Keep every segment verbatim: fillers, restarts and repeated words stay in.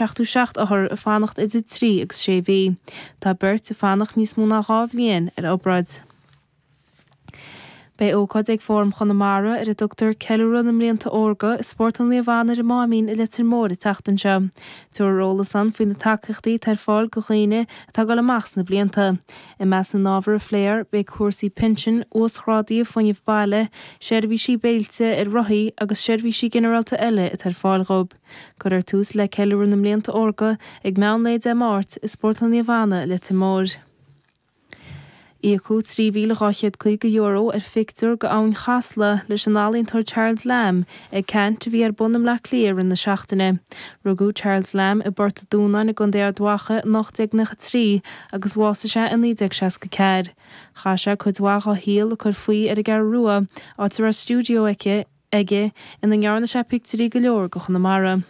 seachtó seacht othar ag fanacht idir trí agus sé mhí. Tá beirt ag fanacht níos mó ná dhá bhliain ar obráid. Beidh ócáid ag Fóram Chonamara ar a dtugtar Ceiliúradh na mBlianta Órga i Spórtlann Naomh Anna ar an Máimín i Leitir Móir an tseachtain seo. Tabharfar eolas ann faoi na tacaíochtaí atá ar fáil do dhaoine atá ag dul amach sna blianta. I measc na n-ábhar a phléifear beidh cúrsaí pinsin, uasghrádaithe fuinnimh baile, seirbhísí béilte ar rothaí agus seirbhísí ginearálta eile atá ar fáil dhóibh. Cuirfear tús le Ceiliúradh na mBlianta Órga ag meán lae Dé Máirt i Spórtlann Naomh Anna i Leitir Móir. Íocadh trí mhíle dhá chéad caoga euro ar phictiúr de Abhainn Chasla leis an ealaíontóir Charles Lamb ag ceant a bhí ar bun i mBleá Cliath i rith na seachtaine. Rugadh Charles Lamb i bPort an Dúnáin i gContae Ard Mhacha in ocht déag nócha trí agus bhásaigh sé in naoi déag seasca ceathair. Chaith sé cuid mhaith dá shaol ag cur faoi ar an gCeathrú Rua, áit a raibh stiúideo aici aige ina ndearna sé pictiúirí go leor de Chonamara.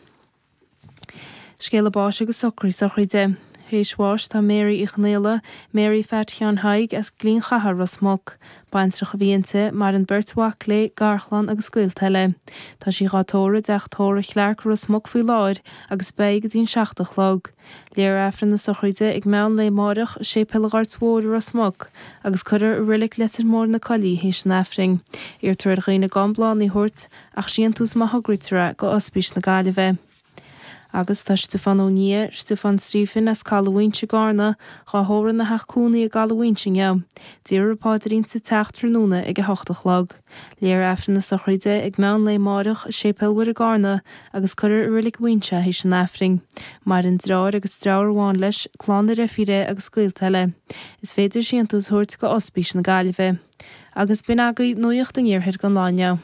Scéala báis agus socraí sochraide. Théis bháis tá Mary Uí Chonghaile, Mary Phat Sheáin Thaidhg as Gleann Chatha Ros Muc. Baintreach a bhí inti, maireann beirt mhac léi, garchlann agus gaolta eile. Tá sí dhá tórramh i dteach tórraimh Chlarke Ros Muc faoi láthair agus beidh go dtí an seacht a chlog. Léifear Aifreann na sochraide ag meán lae amárach i Séipéal an Ghoirt Mhóir i Ros Muc agus cuirfear i Reilig Leitir Móir na Coillí théis an Aifrinn. Iarrtar ar dhaoine gan bláthanna a thabhairt ach síntiús má thograítear é go Ospís na Gaillimhe. Agus tá Stiofán Ó Nia, Stiofán Stephen as Caladh Mhaínse i gCarna, dhá thórramh ina theach cónaí i gCaladh Mhaínse inniu. Déarfar paidrín sa teach tráthnóna ag a hocht a chlog. Léifear Aifreann na sochraide ag meán lae amárach i Séipéal Mhuire i gCarna agus cuirfear i Reilig Mhaínse théis an Aifrinn. Maireann deartháir agus deirfiúr amháin leis, clann a dheirfíre agus gaolta eile. Is féidir síntiús a thabhairt go Ospís na Gaillimhe. Agus b'in agaibh nuacht an iarthair don lá inniu.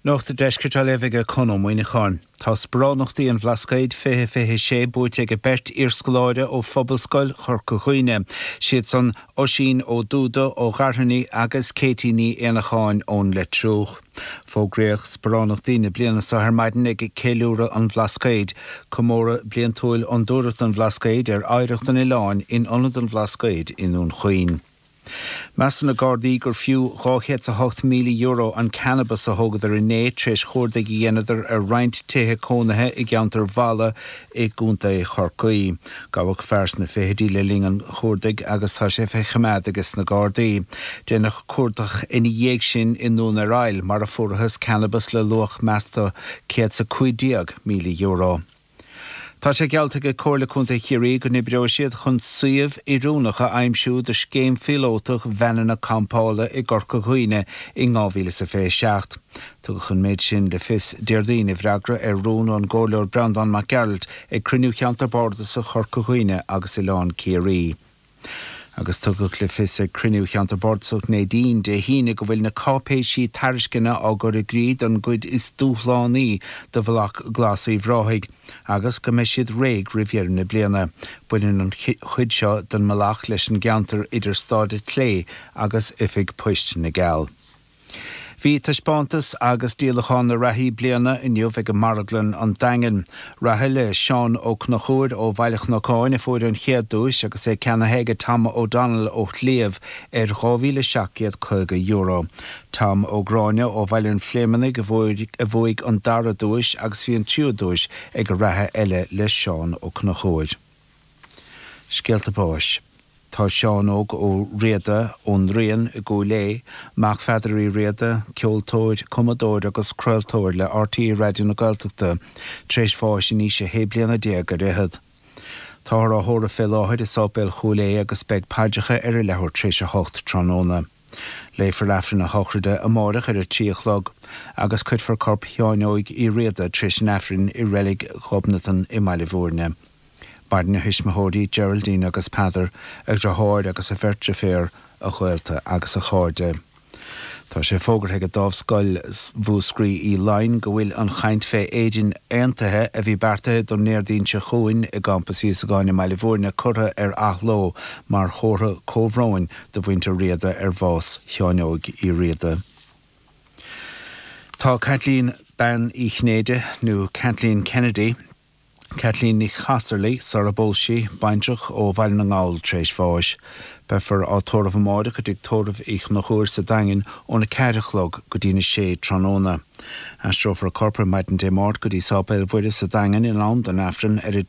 Nuacht an Deiscirt á léamh ag Con Ó Muíneacháin. Tá sparánachtaí an Bhlascaoid fiche fiche sé buaite ag beirt iarscoláire ó Phobalscoil Chorca Dhuibhne. Siad san Oisín Ó Dúda ó Ghairthine agus Katie Ní Éanacháin ón Leitriúch. Fógraíodh sparánachtaí na bliana seo ar maidin ag ceiliúradh an Bhlascaoid, comóradh bliantúil Fhondúireacht an Bhlascaoid ar oidhreacht an oileáin in Ionad an Bhlascaoid i nDún Chaoin. Measann na Gardaí gur fiú dhá chéad is a hocht míle euro an cannabas a thógadar inné tar éis chuardaigh a dhéanadar ar roinnt tithe cónaithe i gceantar Mhala i gContae Chorcaí. Gabhadh fear sna fichidí le linn an chuardaigh agus tá sé fé choimeád ages na Gardaí. Deineadh cuardach ina dhiaidh sin i nDún ar Aill mar a fuarthas cannabas le luach measta céad is a cúig déag míle euro. Tá sé geallta ag Comhairle Contae Chiarraí go n-oibreoidh siad chun suíomh oiriúnach a aimsiú do scéim phíolótach veaineanna campála i gCorca Dhuibhne in dhá mhíle is a fiche seacht. Tugadh an méid sin le fios Déardaoin i bhfreagra ar rún ón gComhairleoir Breandán Mac Gearailt ag cruinniú Cheantar Bardasach Chorca Dhuibhne agus Oileán Ciarraí. Agus tugadh le fios ag cruinniú Cheantar Bardasach Neidín Dé hAoine go bhfuil na cáipéisí tairisceana á gcur i gcrích don gcuid is dúshlánaí de Bhealach Glas Uíbh Ráthaigh agus go mbeidh siad réidh roimh dheireadh na bliana. Baineann an chuid seo den mbealach leis an gceantar idir Staid an tSlé agus Oifig Poist na gCeall. Bhí taispeántas agus díolachán na reathaí bliana inniu ag Marglann an Daingin. Reatha le Seán Ó Conchúir ó Bhaile Chnocáin a fuair an chéad duais agus é ceannaithe ag Tom O'Donnell ó Shliabh ar dhá mhíle seacht gcéad caoga euro. Tom Ó Gráinne ó Bhaile an Phléimeannaigh a bhuaigh an dara duais agus bhí an tríú duais ag a reatha eile le Seán Ó Conchúir. Scéalta báis. Tá Seán Óg Ó Riada ón Rian i gCúil Aodha, mac Pheadair Uí Riada, ceoltóir, cumadóir agus craoltóir le RTÉ Raidió na Gaeltachta, tar éis bháis in aois a shé bliana déag ar fhichead. Táthar á thórramh fé láthair i Sáipéal Chúil Aodha agus beidh paidreacha ar a leathuair tar éis a hocht tráthnóna. Léifear Aifreann a shochraide amárach ar a trí a chlog agus cuirfear corp Sheáin Óig Uí Riada tar éis an Aifrinn i Reilig Ghobnatan i mBaile Bhúirne. Maireann a thuismitheoirí Geraldine agus Peadar, a dheartháir agus a bheirt deirféar, a ghaolta agus a chairde. Tá sé fógartha ag Dámhscoil Mhúscraí Uí Laighin go bhfuil an chaint fé éidin aontaithe a bhí beartaithe don Déardaoin seo chugainn i gCampas Íosagáin i mBaile Bhúirne curtha ar athló mar chomhartha comhbhróin do mhuintir Riada ar bhás Sheáin Óig Uí Riada. Tá Caitlín Bean Uí Chinnéide nó Kathleen Kennedy, Kathleen Ní Chasarlaí sara bpós sí, baintreach ó Bhaile na nGall tar éis bháis. Beifear á tórramh amáireach i dTigh Tórraimh Uí Chonchúir sa Daingean óna ceathair a chlog go dtína sé tráthnóna. Aistreofar a corp ar maidin Dé Máirt go dtí Sáipéal Mhuire sa Daingean in am don Aifreann ar a